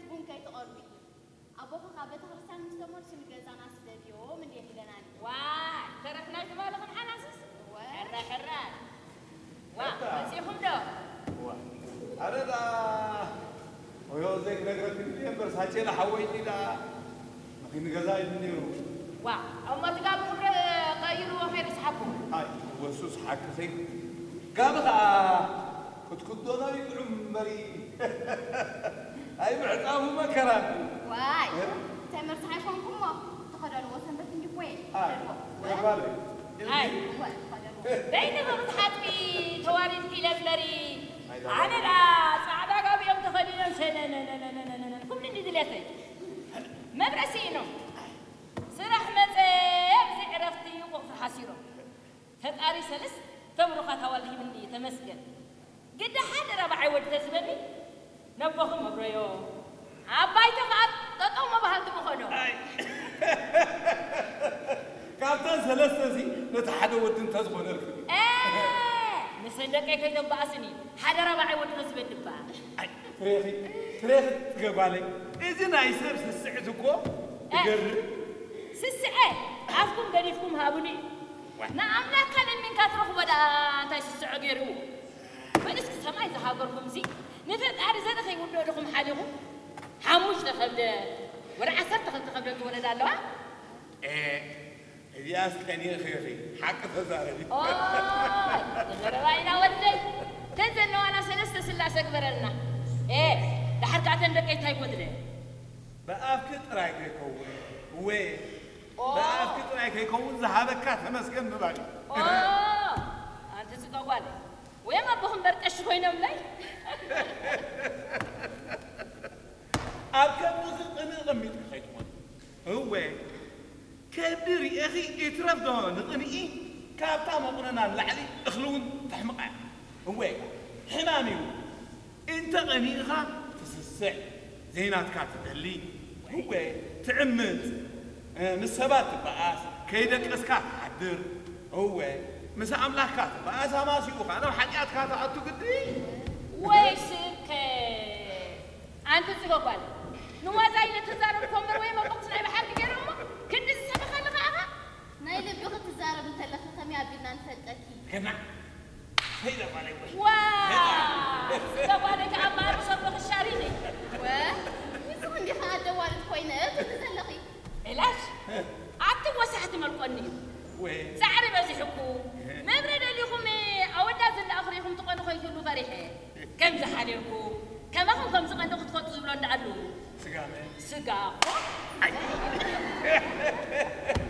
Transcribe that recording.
ቡን ከይትቐርቡ እዩ። ኣቦኺ ካብ ቤተ ክርስቲያን ምስ ተመልሱ ንገዛና ስደድዮም እንድየን ኢለናኒ። ዋይ፣ ተረፍ ናይ ትማሊ ክንሓናስስ? እወ። ሕረ፣ ሕረ። ዋ፣ እታ። መጺኹም ዶ? ዋ፣ ኣረ ደኣ፣ ወዮ ዘይክነግረኪ ድየ እምበር፣ ሳቼና ሓወይኒ ደኣ፣ ንገዛ ኢሉ ነይሩ። ዋ፣ እሞ እቲ ጋቢ ክብረ ቀይርዎ ከይዱ ሰሓብኩም። ኣይ፣ ወሱስ ሓቅኺ። ጋቢ ኸኣ ክትክደኖ ይጥዑም እምበሪ። ኣይ፣ ምዕጻቡ መከራ። ዋይ፣ እ? ተመርሳሕ ኣይኮንኩሞ። ተኸደንዎ ሰንበት እንዲኮ እየ። ኣይ፣ ተኸደንዎ። ተባለ። ኣይ። እወ፣ ተኸደንዎ። በይንኺ ክትሓጥቢ ተዋሪድኪ ኢለ እምበሪ። ኣይ፣ ኣነ ደኣ ጻዕዳ ጋቢኦም ተኸዲኖም ሸነነነነነነነ። ኩሉ እንዲ ድሌተይ። መብረ ስኢኖም። ስራሕ መጸ ብዘይ ዕረፍቲ ቁቕፊ ሓሲሮም። ፈጣሪ ሰለስተ ብሩኻት ኣዋልድ ሂብኒ፣ ተመስገን። ግዳ ሓደ ራብዓይ ወዲ ተዝህበኒ፣ ነቦኹም ኣብረዮ። ኣብ ባይቶ ኸኣ ጠጠው ምባሃል ትምኸዶ። ኣይ። ካብተን ሰለስተ እዚ ነቲ ሓደ ወዲ እንተዝኾነልኪ። እ፣ ንሰን ደቀይ ከይተባኣስኒ፣ ሓደ ራብዓይ ወዲ ተዝህበኒ እባ። ኣይ፣ ትሬኺ፣ ትሬኺ ትገባለይ። እዚ ናይ ሰብ ስስዕት እኮ እ፣ ትገርም። ስስዐ፣ ኣፍኩም ገዲፍኩም ሃቡኒ። ንኣምላኽካ ለሚንካ ትረኽቦ ደኣ እንታይ ስስዖ ገይርዎ? በል እስኪ ሰማይ ዝሃገርኩም እዚ ንፈጣሪ ዘርኢ ከይውድኦ ዲኹም ሓሊኹም? ሓሙሽተ ከብደ ወላ ዓሰርተ ክልተ ከብደ ዝወለዳ ኣለዋ? እ፣ እዚኣስ ቀኒእኺ ኢኺ፣ ሓቂ ተዛረቢ። ኦይ፣ ተዘረባይና ወደይ፣ ተን ዘለዋና ሰለስተ ስላሰ ግበረልና። እ፣ ደሓር ከኣ ተን ደቀይ እንታይ ጎድለ? ብኣፍኪ ጥራይ ከይከውን፣ እወ፣ ኦ። ብኣፍኪ ጥራይ ከይከውን ዝሃበካ ተመስገን ምባል እዩ። ኦ፣ ኣንቲ ጽጋ ጓል፣ ወይም ኣቦኹም በርቀሽ ኮይኖምለይ። ኣብ ከብድኺ ቅንኢ ቀሚጥኪ ከይትኾኒ። እወ፣ ከብዲ ርኤኺ ይትረፍ ዶ ንቕንኢ፣ ካብታ መቑነና ንላዕሊ እኽሊ እውን ተሕምቓ እያ። እወ፣ ሕማም እዩ። እንተ ቐኒእኻ ትስስዕ፣ ዘይናትካ ትደሊ፣ እወ፣ ትዕምጽ፣ እ፣ ምስ ሰባት ትበኣስ፣ ከይደቀስካ ትሓድር፣ እወ፣ ምስ ኣምላኽካ ትበኣስ፣ ኣማሲኡ ኸኣ ናብ ሓጢኣትካ ትኣቱ ግዲ። ወይ ስብከ! ኣንቲ ጽገ ጓል፣ ንዋዛ ኢለ ተዛረብኮ እምበር ወይ መቦቕቲ ናይ ብሓቂ ገይረ እሞ፣ ክንዲ ዝሰበኸኒ ኸኣ ኸ? ናይ ልቢ ክትዛረብ እንተለኺ ከመይ ኣቢልና ንፈልጠኪ? ገና ሰይዳ ጓለይ ወይ? ዋ! ገና። ስለ ጓለይ ከኣ ማሩ ሰብ ክሻሪኒ። ወ? ንስኺ እንዲኺ ኣደዋልት ኮይነ ትብሊ ዘለኺ። እላሽ፣ ኣቲ ወሳሕቲ መልቆኒ እዩ። ወይ? ጻዕሪ በዚሕኩ። መብረ ደሊኹም ኣወዳት ዝለኣኹ ርኢኹም ትቐኑ ከይትህሉ ፈሪሐ። ከም ዝሓደርኩ፣ ከማኹም ከም ዝቐንዲ ክትፈልጡ ዝብሎ እንዳኣሉ። ስጋመ። ስጋ እኮ። ኣይ።